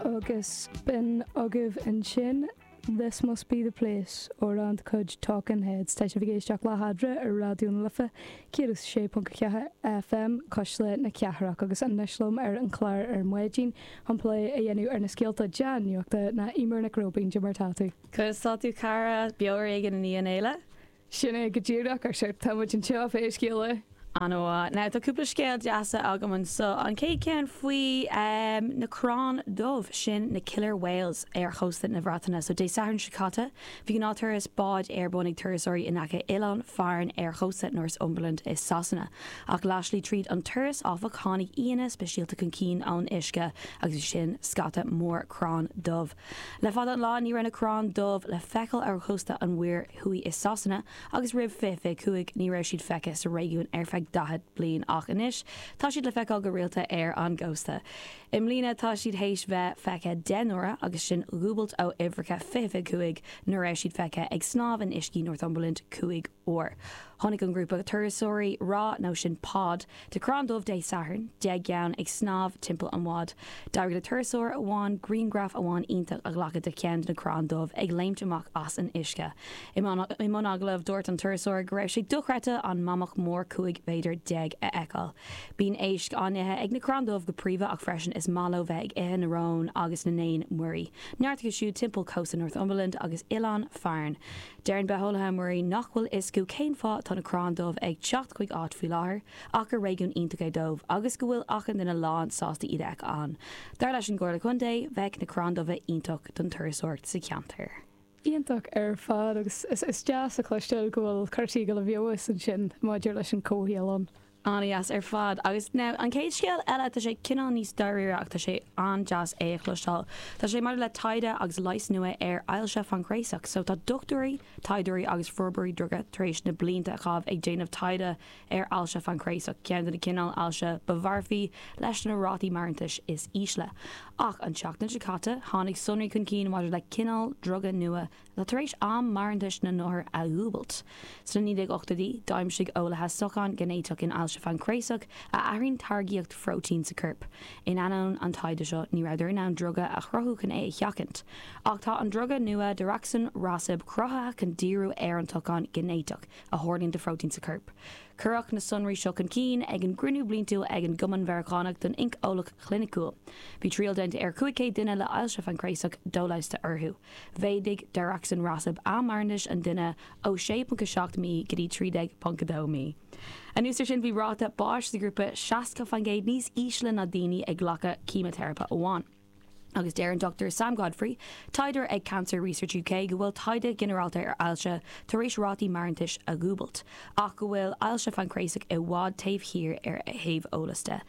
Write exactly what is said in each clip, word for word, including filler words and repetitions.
Agus b'in agaibh ansin This Must Be the Place, amhrán de chuid Talking Heads. Tá sibh ag éisteacht le hEadra ar Raidió na Life céad sé ponc ceathair F M, Cuisle na Cathrach, agus anois liom ar an chlár ar maidin chun plé a dhéanamh ar na scéalta dea-nuachta ná Eimear Nic Róibín. Mar tá tú? Conas tá tú, cara? Beo ar éigean i ndiaidh an fhéile? Sin é go díreach ar sé támuid anseo fé scéala. An-mhaith. Now, tá cúpla scéal deasa agam anseo. An chéad ceann faoi um, na crann dubh sin, na killer whales, ar chósta na Breataine. So Dé Sathairn seo caite, bhí gnáth-turas báid ar bun ag turasóirí in aice Oileán Farne ar chósta Northumberland i Sasana. Ach leathshlí tríd an turas, áfach, tháinig aíonna speisialta chun cinn ón uisce, agus sin scata mór crann dubh. Le fada an lá ní raibh na crann dubh le feiceáil ar chósta an Mhuir Thuaidh i Sasana, agus roimh fiche cúig ní raibh siad feicthe sa réigiún ar feadh daichead bliain, ach anois tá siad le feiceáil go rialta ar an gcósta. I mbliana tá siad théis bheith feicthe deich n-uaire, agus sin dúbailt ó uimhreacha fiche cúig nuair raibh siad feicthe ag snámh in uiscí Northumberland cúig uair. Tháinig an grúpa turasóirí rá nó sin pod de crann dubh Dé Sathairn, deich gceann ag snámh timpeall an bháid. D'éirigh le turasóir amháin grianghraf amháin iontach a ghlacadh de cheann de na crann dubh ag léimt amach as an uisce. I mbun agallaimh, dúirt an turasóir go raibh sé dochreidte an mamach mór cúig mhéadar déag a fheiceáil. Bíonn éisc á n-ithe ag na crann dubh go príomha, ach freisin is maith leo bheith ag ithe na rón agus na n-éan muirí. Neart acu siúd timpeall cósta Northumberland agus Oileán Farne. Deireann bitheolaithe muirí nach bhfuil fhios acu cén fáth tá na crann dubh ag teacht chuig áit faoi láthair, ach gur réigiún iontach é dóibh agus go bhfuil achan duine lán sásta iad a fheiceáil ann. Dar leis an gComhairle Contae, bheadh na crann dubha iontach don turasóireacht sa cheantar. Iontach ar fad, agus is, is deas a chloisteáil go bhfuil cúrsaí go bhfeabhas ansin maidir leis an comhshaol ann. An-deas ar fad. Agus now an chéad scéal eile, tá sé cineál níos dáiríre ach tá sé an-deas é a chloisteáil. Tá sé maidir le taighde agus leigheas nua ar ailse phaincréasach, so tá dochtúirí, taighdeoirí agus forbróirí druga tar éis na blianta a chaitheamh ag déanamh taighde ar ailse phaincréasach, ceann de na cineál ailse ba mharfaí leis na rátaí maireachtála is ísle. Ach an tseachtain seo caite tháinig sonraí chun cinn maidir le cineál druga nua atá tar éis am maireachtála na n-othar a dhúbailt. Sna naoi déag ochtóidí, d'aimsigh eolaithe socán ginéiteach in ailse phaincréasach a athraíonn táirgeacht phróitéin sa chorp. In ainneoin an taighde seo, ní rabhadar in ann druga a chruthú chun é a sheachaint. Ach tá an druga nua daraxonrasib cruthaithe chun díriú ar an tsocán ginéiteach a tharlaíonn de phróitéin sa chorp. Cuireadh na sonraí seo chun cinn ag an gcruinniú bliantúil ag an gCumann Meiriceánach don Oinceolaíocht Chliniciúil. Bhí triail déanta ar cúig chéad duine le ailse phaincréasach doleigheasta orthu. Mhéadaigh daraxonrasib am maireachtála an duine ó sé ponc seacht mí go dtí trí déag ponc dó mí. Anuas air sin, bhí ráta báis sa ghrúpa seasca faoin gcéad níos ísle ná daoine ag glacadh ceimiteiripe amháin. Agus deir an Doctor Sam Godfrey, taighdeoir ag Cancer Research U K, go bhfuil taighde ginearálta ar ailse tar éis rátaí maireachtála a dhúbailt, ach go bhfuil ailse phaincréasach i bhfad taobh thiar ar a thaobh eolais de.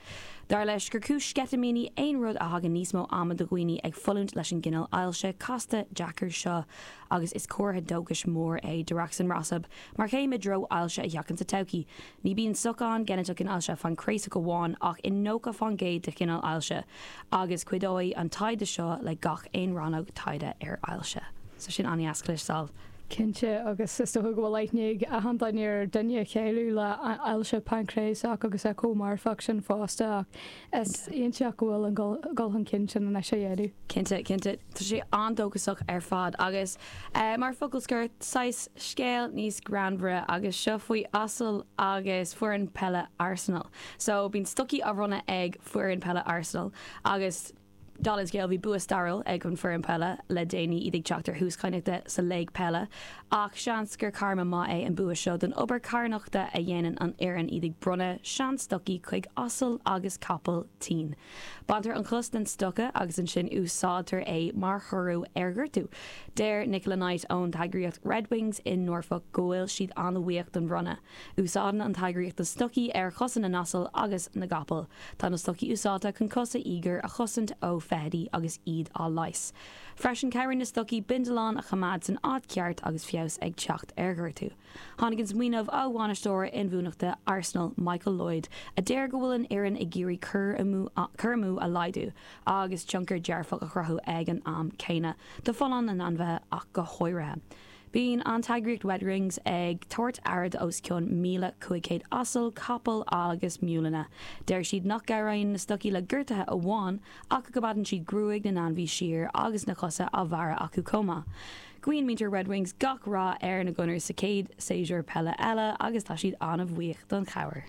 Dar leis gur cúis sceitimíní aon rud a thagann níos mó ama do dhaoine ag fulaingt leis an gcineál ailse casta deacair seo, agus is comhartha dóchais mór é daraxonrasib mar chéim i dtreo ailse a sheachaint sa todhchaí. Ní bhíonn socán géiniteach in ailse phaincréasach amháin ach in nócha faoin gcéad de chineál ailse, agus cuideoidh an taighde seo le gach aon rannóg taighde ar ailse. So sin an-deas cloisteáil. Cinnte, agus is dócha go bhfuil aithne ag achan duine ar duine a cailleadh le ailse paincréasach agus é chomh marfach sin fosta, ach is iontach go bhfuil an dul chun cinn sin anois a dhéanamh. Cinnte, cinnte, tá sé an-dóchasach ar fad. Agus uh, mar focal scoir, saghas scéal níos greannmhaire, agus seo faoi asal agus foireann peile Arsenal. So bíonn stocaí á mbronnadh ag foireann peile Arsenal, agus dála an scéil, bhí bua stairiúil ag an foireann peile le déanaí, iad ag teacht ar thús cadhnaíochta sa léig peile, ach seans gur karma maith é an bua seo don obair carthanachta a dhéanann an fhoireann, iad ag bronnadh seanstocaí chuig asal agus capall tinn. Baintear an chos den stoca agus ansin úsáidtear é mar chóiriú ar ghortú. Deir Nicola Knight ón eagraíocht Red Wings in Norfolk go bhfuil siad an-bhuíoch don bhronnadh. Úsáideann an eagraíocht na stocaí ar chosa na n-asal agus na gcapall. Tá na stocaí úsáidte chun cosa íogair a chosaint ó feithidí agus iad á leigheas. Freisin, cabhraíonn na stocaí bindealáin a choimeád san áit ceart agus feabhas ag teacht ar ghortú. Tháinig an smaoineamh ó bhainisteoir inbhuanaitheachta Arsenal, Michael Lloyd, a deir go bhfuil an fhoireann ag iarraidh cur amú a laghdú agus tionchar dearfach a chruthú ag an am céanna, do fholláine na n-ainmhithe ach go háirithe. Bíonn an t-eagraíocht Red Wings ag tabhairt aire d'os cionn míle cúig chéad asal, capall agus miúileanna. Deir siad nach gcabhraíonn na stocaí le gortuithe amháin ach go bhfaigheann siad gruaig na n-ainmhí siar agus na cosa á bhearradh acu chomh maith. Guíonn muintir Red Wings gach rath ar na Gunners sa chéad séasúr peile eile agus tá siad an-bhuíoch don chabhair.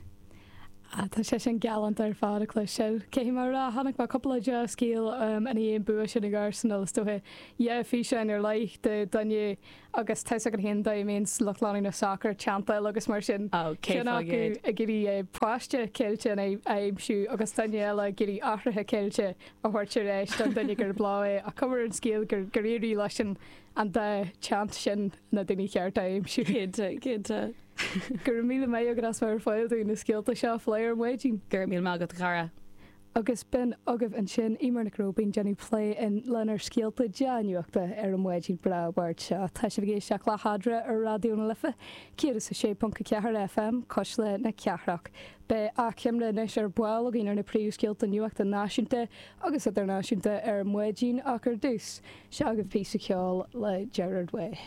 Ah, tá sé sin galánta ar fad a chloisteáil. Cé mar a tháinig mar cúpla dea-scéal um, ina dhiaidh an bua sin ag Arsenal is dóiche dhá fhíseán ar leith de duine agus tá an haon dá mbíonn lucht leanúna sacair teanntáil agus mar sin. Oh, Ceann acu ag iarraidh páiste ceilte a aimsiú agus duine eile ag iarraidh athraithe ceilte a thabhairt ar ais don duine gur blá é a cumar an scéal gur gur éirigh leis an an dá teannt sin na daoine cearta a aimsiú. Cinnte, cinnte. Go raibh míle maith agat as bheith ar fáil dúinn na scéalta seo a phlé ar maidin. Go raibh míle maith agat cara. Agus b'in agaibh ansin Eimear Nic Róibín déanamh plé in lenár scéalta dea-nuachta ar an maidin breá Mháirt seo. Tá sibh ag éisteacht le hEadra ar Raidió na Life, céad is a sé ponc a ceathair FM, Cuisle na Cathrach. Beidh achoimre anois ar ball againn ar na príomhscéalta nuachta náisiúnta agus idirnáisiúnta ar maidin ach ar dtús. Seo agaibh píosa ceoil le Gerard Way.